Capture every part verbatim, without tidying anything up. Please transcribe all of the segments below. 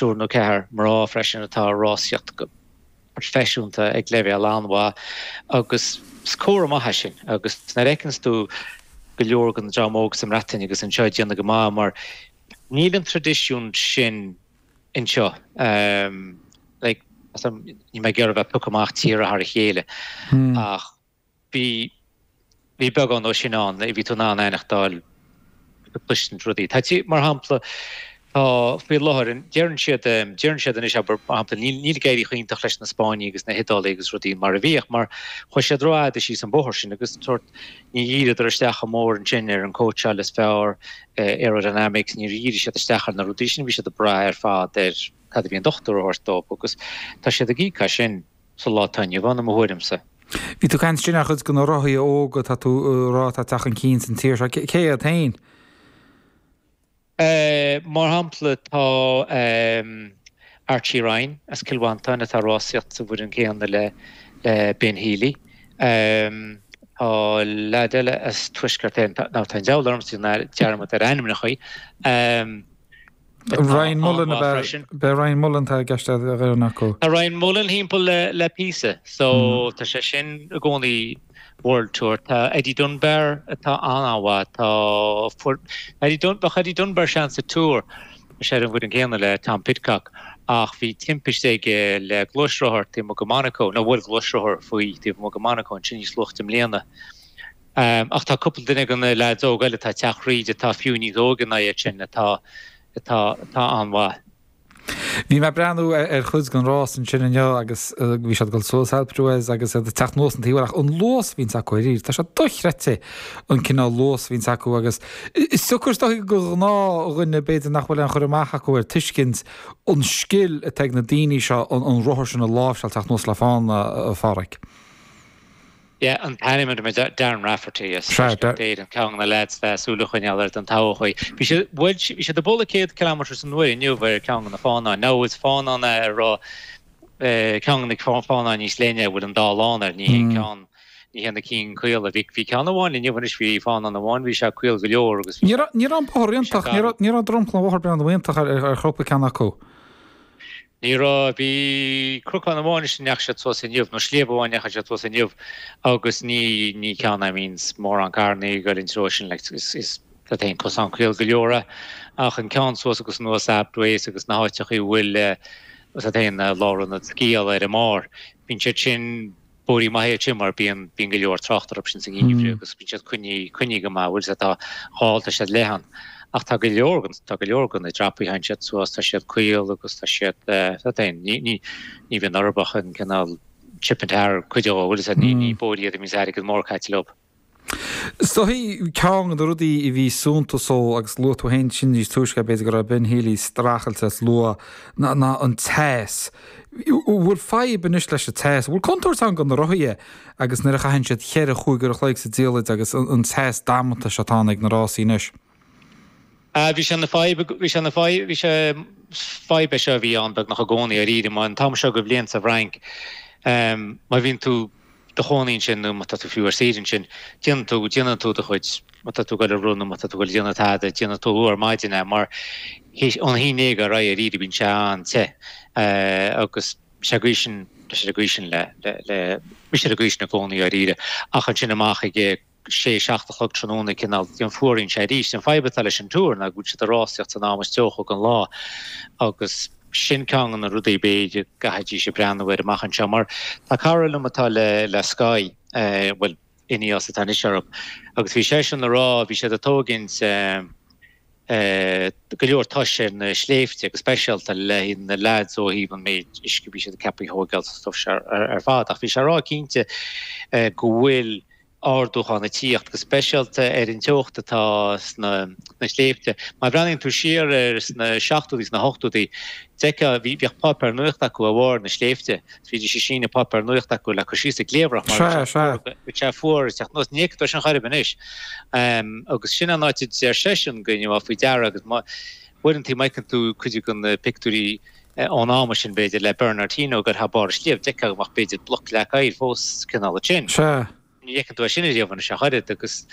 triúr nó ceathair mná freisin atá ag rásaíocht go proifisiúnta ag leibhéal an-mhaith agus is comhartha maith é sin agus nuair a fheiceanns tú go leor den dream óg sa mBreatain agus anseo ag déanamh go maith mar níl an traidisiún sin anseo. Like, níl mé ag iarraidh a bheith ag piocadh amach tíortha thar a chéile ach bhí bhí beagán dó sin ann, bhí tú in ann aithneachtáil cloistint rudaí. Tá tí, mar shampla, tá faoi láthair, deireann siad, deireann siad anois, abair, mar shampla, níl, níl ag éirí chomh hiontach leis na Spáinnigh agus na hIodálaigh agus rudaí mar a bhíodh, mar chuaigh siad rófhada síos an bóthar sin agus sórt ní dhíríodar isteach chomh mór ansin ar an cóitseáil is fearr, aerodynamics, níor dhírigh siad isteach ar na rudaí sin, bhí siad ag brath ar fad ar cad a bhí an dochtúir a thabhairt dóibh agus tá siad ag íoc as sin sa lá atá inniu ann, i mo thuairimse. Bhí tú ag caint ansin ar chuid de na rothaithe óga atá tú ag rá atá ag teacht chun cinn san tír seo. Cé iad féin? Mar shampla tá Archie Ryan as Cill Mhantáin atá ag rásaíocht sa bhfoireann céanna le Ben Healy. Tá leaid eile as Tuaisceart Éireann, nó tá an deabhal ormsa dearmad ar ainmneacha. Ryan Mullen ab ea? B'é Ryan Mullen atá i gceist ar dhuine acu. Tá Ryan Mullen thimpeall le píosa so tá sé sin i gcónaí World Tour. Tá Eddie Dunbar atá an-an-mhaith. Tá Eddie Dun bheadh Eddie Dunbar seans sa Tour tá sé ar an bhfoireann céanna le Tom Pidcock ach bhí timpiste aige le gluaisrothar taobh amuigh de Monaco, nó bhuail gluaisrothar faoi taobh amuigh de Monaco ansin níos luaithe i mbliana. Ach tá cúpla duine de na leaids óga eile atá ag teacht thríd atá fiú níos óige ná iad sin atá atá atá an-mhaith. Bhí mé ag breathnú ar chuid den rás ansin inniu agus bhí siad ag dul suas Alpe d'Huez agus iad ag teacht anuas an taobh eile ach an luas a bhíonns acu ar tá sé dochreidte an cineál luas a bhíonns acu agus is deacair is dóigh do ghnáthdhuine b'fhéidir nach bhfuil aon chur amach acu air tuiscint an scil atá ag na daoine seo an rothar sin a láimhseáil teacht anuas le fána a Pháraic. Yeah, an t-ainm ar mé Darren Rafferty as Tuaisceart Éireann, ceann de na lads le súil a choinneáil air don todhchaí. Bhí siad, bhuel, bhí siad ag bualadh céad kilometre san uair inniu ar ceann de na fánáin. Now is fánán é a raibh ceann de na fánáin níos leithne a bhfuil an dá lán air, ní hé ceann, ní hé na cinn caola. Bhí, bhí ceann amháin inniu anois, bhí fánán amháin, bhí sé caol go leor agus bhí sé, Ní raibh an bóthar iontach, ní raibh, ní raibh dromchla an bhóthair breá iontach ar, ar chúpla ceann acu. Ní raibh. Bhí cnocán amháin is a ndeachaigh siad suas inniu, nó sliabh amháin a ndeachaigh siad suas inniu agus ní, ní ceann é a mbíonns mórán carrannaí ag goil an treo sin, like, is, is, tá féin cosán caol go leor é, ach an ceann suas agus anuas Alpe d'Huez agus na háiteachaí a bhfuil, tá féin, lárionad sciála ar an mbarr, bíonn siad sin, Bóithrí maithe iad sin mar bíonn bíonn go leor trácht orthu sin sa ngeimhreadh agus bíonn siad coinnithe coinnithe go maith, bhfuil 's tá dhá tá siad leathan. Ach tá go leor den tá go leor de na dreapaí a théann siad suas, tá siad caol agus tá siad tá féin ní ní ní bhíonn orthu ach an cineál chip and tar cuid dhó, bhfuil 's ní ní bóithrí iad a mbíonns airgead mór caite leo. Is dóigh, ceann de na rudaí a bhí suntasach agus luaigh tú féin sin níos túisce, b'fhéidir go raibh Ben Healy streachailte as luath, ná an teas. An bhfuil fadhb anois leis an teas? An bhfuil contúirt ann do na rothaithe agus nuair a chaitheann siad cheithre, chúig uair a chloig sa diallait agus an teas damanta seo atá ann ag na rásaí anois? Bhí sé ina fadhb, bhí sé ina fadhb, bhí sé, fadhb é seo a bhí ann beagnach i gcónaí, dáiríre, mar an t-am seo de bhliain sa bhFrainc, má bhíonn tú, do chónaí ansin nó má tá tú fiú ar saoire ansin, déanann tú, déanann tú do chuid, má tá tú ag dul ag rith nó má tá tú ag dul ag déanamh tada, déanann tú luath ar maidin é mar théis, ón haon déag ar aghaidh dáiríre bíonn sé an-te agus sé an gcaoi sin, tá sé an gcaoi sin le, le, le, bhí sé an gcaoi sin i gcónaí dáiríre ach ansin amach ag sé, seacht a chlog tráthnóna cineál, fuaraíonn sé arís. An fadhb atá leis an Tour ná go bhfuil siad ag rásaíocht san am is teocha den lá agus sin ceann de na rudaí b'fhéidir go gcaithfidís a breathnú air amach anseo mar tá cara liom atá le le Sky, bhuel Ineos atá anois orthu, agus bhí seisean ag rá, bhí siad ag tógaint, go leor toise ar na sléibhte, go speisialta le na leaids ó thaobh an méid uisce a bhí siad ag ceapadh a thóigeáil sa stuif seo ar fad. Ach bhí sé ag rá cinnte go bhfuil ardúchán ag tíocht, go speisialta ar an teocht atá sna sléibhte. Má bhreathnaíonn tú siar ar sna seachtóidí, sna hochtóidí, d'fheicfeá, bhí, bhíodh páipéar nuachta acu ar bharr na sléibhte. Bhídís ag síneadh páipéar nuachta acu le cur síos ag cliabhrach mar bhí sé fuar, bhí sé fuar ag teacht anuas. Ní fheicfidh tú sin chor ar bith anois. Agus sin an áit a deir seisean go ngeofá faoi deara agus má, uaireanta má fheiceann tú cuid de na pictiúirí ón am sin b'fhéidir le Bernard Hinault ag dul thar barr an sliabh, d'fheicfeá go mbeadh b'fhéidir bloc leac oighir fós cineál ansin. Sea. Ní fheiceann tú é sin ariamh anois ach oiread agus,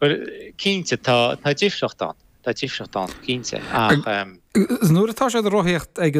bhuel, cinnte, tá, tá difríocht ann, tá difríocht ann, cinnte, ach. Nuair atá siad ag rothaíocht ag an.